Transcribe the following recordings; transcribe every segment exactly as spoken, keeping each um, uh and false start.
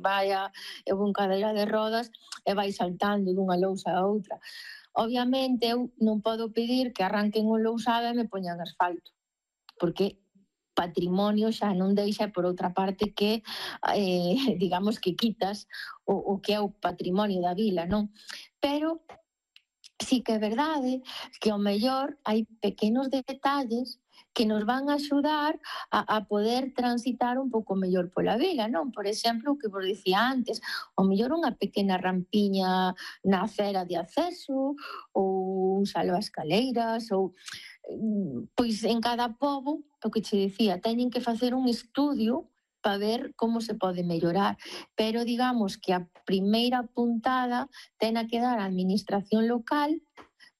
vai a, eu vou en cadeira de rodas e vai saltando dunha lousa a outra. Obviamente, eu non podo pedir que arranquen o lousado e me poñan asfalto, porque patrimonio xa non deixa, por outra parte, que, eh, digamos, que quitas o, o que é o patrimonio da vila, non? Pero sí que é verdade que ao mellor hai pequenos detalles que nos van a axudar a, a poder transitar un pouco mellor pola vila, non? Por exemplo, o que vos dicía antes, ao mellor unha pequena rampiña na acera de acceso, ou un salvaescaleiras, ou pois en cada pobo, o que che dicía, teñen que facer un estudio para ver como se pode mellorar. Pero digamos que a primeira puntada ten a que dar a administración local,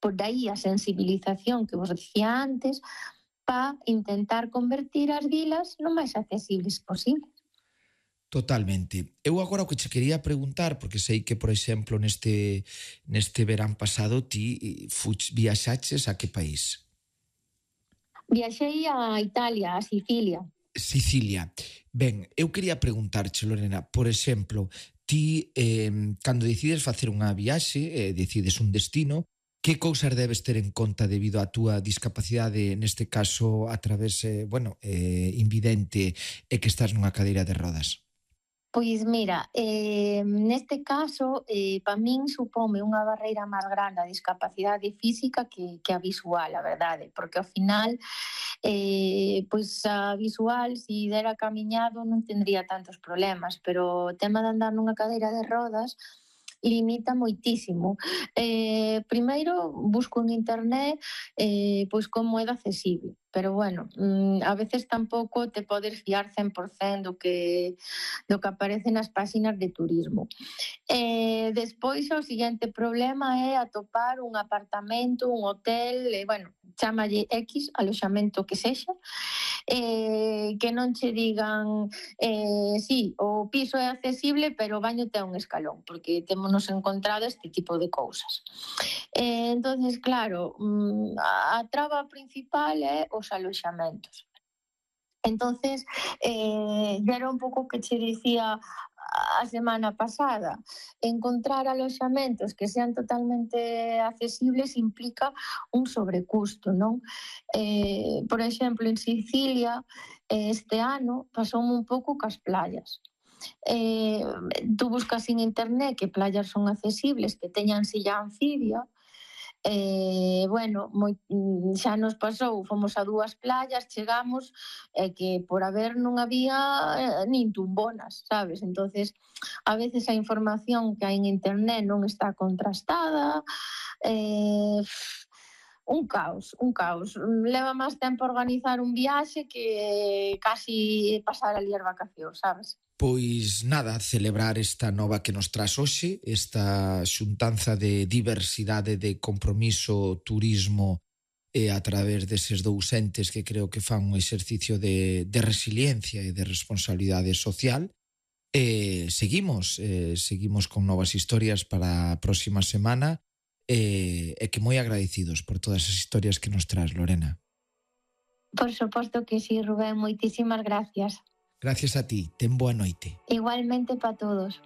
por aí a sensibilización que vos dicía antes, para intentar convertir as vilas no máis accesibles posible. Totalmente. Eu agora o que che quería preguntar, porque sei que, por exemplo, neste, neste verán pasado ti fuch, viaxaches a que país? Viaxei a Italia, a Sicilia. Sicilia. Ben, eu quería preguntarche, Lorena, por exemplo, ti, eh, cando decides facer unha viaxe, eh, decides un destino, que cousas debes ter en conta debido á túa discapacidade, neste caso, a través, eh, bueno, eh, invidente, e que estás nunha cadeira de rodas? Pois mira, eh, neste caso, eh, para min supome unha barreira máis grande a discapacidade física que, que a visual, a verdade, porque ao final, eh, pois a visual, se dera camiñado, non tendría tantos problemas, pero o tema de andar nunha cadeira de rodas limita moitísimo. Eh, primeiro, busco en internet eh, pois como é de accesible, pero bueno, a veces tampouco te podes fiar cen por cen do que, do que aparece nas páxinas de turismo. Eh, despois, o seguinte problema é atopar un apartamento, un hotel, eh, bueno, chámalle X, aloxamento que sexa, eh, que non che digan eh, sí, o piso é accesible, pero o baño ten un escalón, porque témonos encontrado este tipo de cousas. Eh, entonces, claro, a, a traba principal é os aloxamentos. Entonces, eh, era un pouco que che dicía a semana pasada, encontrar aloxamentos que sean totalmente accesibles implica un sobrecusto, non? Eh, por exemplo, en Sicilia, este ano, pasoume un pouco cas playas. Eh, tú buscas en internet que playas son accesibles, que teñan silla anfibia, Eh, bueno, moi, xa nos pasou, fomos a dúas playas, chegamos, e eh, que por haber non había eh, nin tumbonas, sabes? Entonces, a veces a información que hai en internet non está contrastada, eh, un caos, un caos. Leva máis tempo organizar un viaxe que casi pasar ali as vacacións, sabes? Pois nada, celebrar esta nova que nos traz hoxe, esta xuntanza de diversidade, de compromiso, turismo e a través deses dous entes que creo que fan un exercicio de, de resiliencia e de responsabilidade social. E seguimos, eh, seguimos con novas historias para a próxima semana e, e que moi agradecidos por todas as historias que nos traz, Lorena. Por suposto que sí, Rubén, moitísimas gracias. Gracias a ti, ten boa noite. Igualmente para todos.